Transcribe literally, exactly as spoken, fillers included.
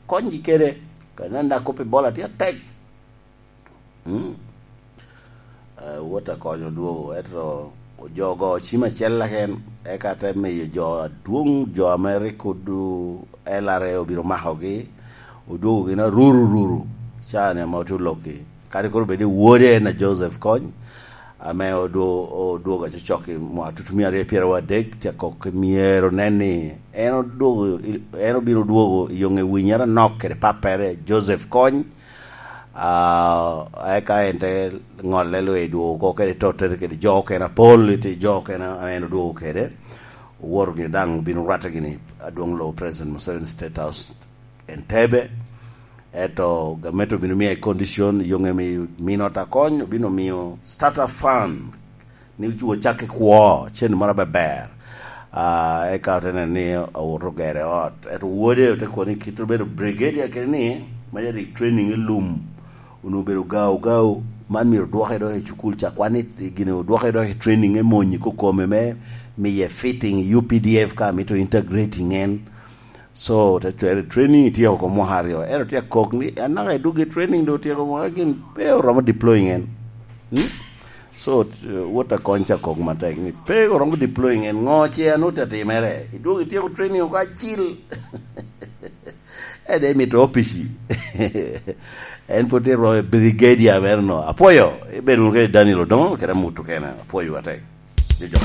Konygi kede, ka nen da kop i bola tye atek. Mm. Eh, wot akonyo odwogo, ento ojogo cim acel laken, eka te miyo jo adwoŋ, jo ame rik odu-, L R A obino makogi, odwogo gin aruru ruru, caa-ni ame otye olokki. Kadi koro bed ni wode en a Joseph Kony, ame odwo-, odwogo acocok i mwaka tutumia aryo pyerawo adek, tye akok myero nen ni en odwogo, en obino dwogo i yoŋe winyere anok kede pappere, Joseph Kony. Ah, eka en te ŋolle lwe dwogo oko kede tottere kede jo okene apol, ite jo okene a en odwogo kede. Owoto gini daŋ obino rwatte gini adwoŋ lobo President Museveni State House Entebbe. Eto gamente obino miye condition, yoŋe mi minot akony, obino miyo starter fund, ni ocakke kwo, cen moro abeber. Ah, eka ote neno ni owoto ogere ot. Eto wode ote kono ni kit obedo brigadier kede ni, ma yadi training i lum, onwoŋo obedo gao gao, man myero odwoke dok i cukul ca, kwan ni gine odwoke dok i training, e monyi kokome me miye fitting i U P D F ka mito integrating en. So, te cwero training, ityeko oko mwaka aryo. Ento tye akok ni, anaka idwogo i training, do otyeko mwaka, gin pe oromo deploying en. Hmm? So, t-, wot akony ca kok matek ni, pe oromo deploying en, ŋo ce anut atimere? Idwogo ityeko training oko acil. Ede mito opici. En pwod tye romo brigadier mere no. Apwoyo, ibedo wunu kede Daniel Odongo, kede amut okene. Apwoyo atek. Ni jo.